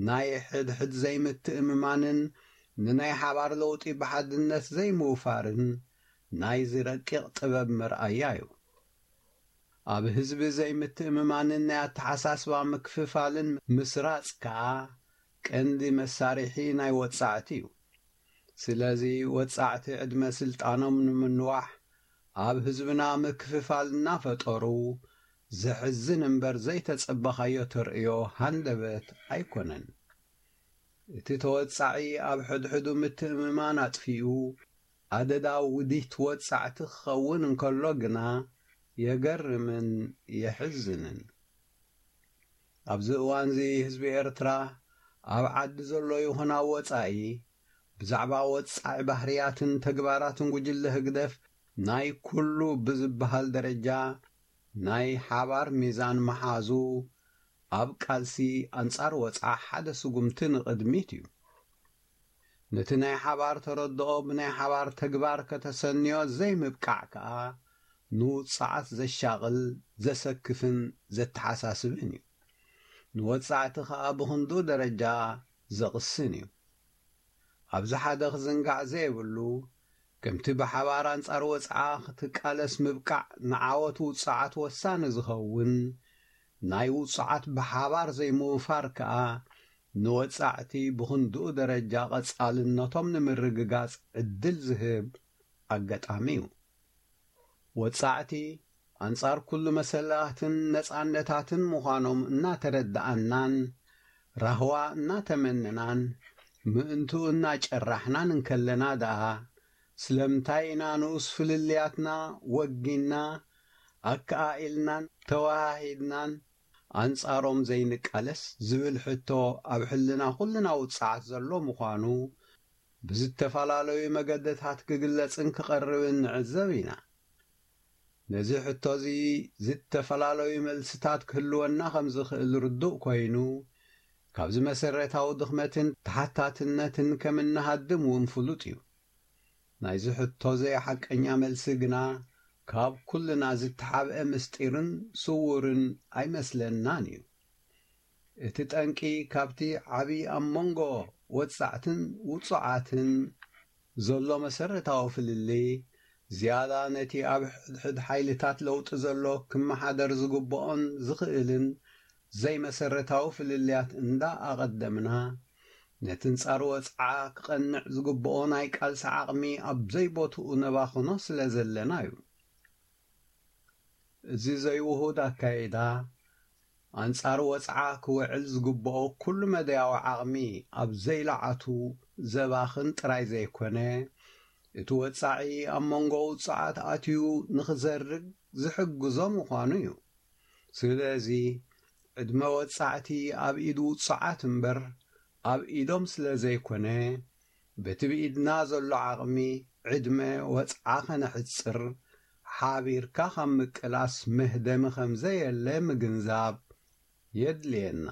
ናይ ሕድሕድ ዘይምትእምማንን ንናይ ሓባር ለውጢ ብሓድነት ዘይምውፋርን ናይዚ ረቂቕ ጥበብ መርኣያ እዩ። ኣብ ህዝቢ ዘይምትእምማንን ናይ ኣተሓሳስባ ምክፍፋልን ምስራጽ ከኣ ቀንዲ መሳርሒ ናይ ወጻዕቲ እዩ። ስለዚ ወጻዕቲ ዕድመ ስልጣኖም ንምንዋሕ ኣብ ህዝብና ምክፍፋል እናፈጠሩ ዘሕዝን እምበር ዘይተጸበኻዮ ተርእዮ ሃንደበት ኣይኮነን። እቲ ተወጻዒ ኣብ ሕድሕዱ ምትእምማን ኣጥፊኡ ኣደዳ ውዲት ወጻዕቲ ክኸውን እንከሎ ግና የገርምን የሕዝንን። ኣብዚ እዋንዚ ህዝቢ ኤርትራ ኣብ ዓዲ ዘሎ ይኹን ኣብ ወጻኢ ብዛዕባ ወጻዒ ባህርያትን ተግባራትን ጉጅለ ህግደፍ ናይ ኩሉ ብዝበሃል ደረጃ ናይ ሓባር ሚዛን ምሓዙ ኣብ ቃልሲ ኣንጻር ወጽዓ ሓደ ስጉምቲ ንቕድሚት እዩ። ነቲ ናይ ሓባር ተረድኦ ብናይ ሓባር ተግባር ከተሰንዮ ዘይምብቃዕ ከኣ ንውጽዓት ዘሻቕል፣ ዘሰክፍን ዘተሓሳስብን እዩ። ንወጻዕቲ ከኣ ብኽንድኡ ደረጃ ዘቕስን እዩ። ኣብዚ ሓደ ክዝንጋዕ ዘይብሉ፣ ከምቲ ብሓባር ኣንጻር ወጽዓ ክትቃለስ ምብቃዕ ንዓወት ውጽዓት ወሳኒ ዝኸውን፣ ናይ ውጽዓት ብሓባር ዘይምውፋር ከኣ ንወጻዕቲ ብኽንድኡ ደረጃ ቀጻልነቶም ንምርግጋጽ ዕድል ዝህብ ኣጋጣሚ እዩ። ወጻዕቲ ኣንጻር ኩሉ መሰላትን ነጻነታትን ምዃኖም እናተረድኣናን ራህዋ እናተመነናን ምእንትኡ እናጨራሕናን እንከለና ደኣ፣ ስለምንታይ ኢና ንኡስ ፍልልያትና ወጊና፣ ኣከኣኢልናን ተወሃሂድናን ኣንጻሮም ዘይንቃለስ ዝብል ሕቶ ኣብ ሕልና ኩልና ውጽዓት ዘሎ ምዃኑ ብዝተፈላለዩ መገድታት ክግለጽን ክቐርብን ንዕዘብ ኢና። ነዚ ሕቶ እዚ ዝተፈላለዩ መልስታት ክህልወና ከም ዝኽእል ርዱእ ኮይኑ፣ ካብዚ መሰረታዊ ድኽመትን ተሓታትነትን ከም እንሃድም እውን ፍሉጥ እዩ። ናይዚ ሕቶ ዘይሓቀኛ መልሲ ግና ካብ ኩልና ዝተሓብአ ምስጢርን ስዉርን ኣይመስለናን እዩ። እቲ ጠንቂ ካብቲ ዓቢ ኣብ መንጎ ወጻዕትን ውጹዓትን ዘሎ መሰረታዊ ፍልልይ ዝያዳ ነቲ ኣብ ሕድሕድ ሓይልታት ለውጢ ዘሎ ክመሓደር ዝግብኦን ዝኽእልን ዘይመሰረታዊ ፍልልያት እንዳ ኣቐደምና፣ ነቲ ንጻር ወጽዓ ክቐንዕ ዝግብኦ ናይ ቃልሲ ዓቕሚ ኣብ ዘይቦትኡ ነባኽኖ ስለ ዘለና እዩ። እዚ ዘይውሁድ ኣካይዳ፣ ኣንጻር ወጽዓ ክውዕል ዝግብኦ ኩሉ መዳያዊ ዓቕሚ ኣብ ዘይለዓቱ ዘባኽን ጥራይ ዘይኮነ፣ እቲ ወጻዒ ኣብ መንጎ ውጹዓት ኣትዩ ንኽዘርግ ዝሕግዞ ምዃኑ እዩ። ስለዚ፣ ዕድመ ወጻዕቲ ኣብ ኢድ ውጹዓት እምበር ኣብ ኢዶም ስለ ዘይኮነ፣ በቲ ብኢድና ዘሎ ዓቕሚ ዕድመ ወጽዓ ከነሕጽር፣ ሓቢርካ ካብ ምቅላስ መህደሚ ከም ዘየለ ምግንዛብ የድልየና።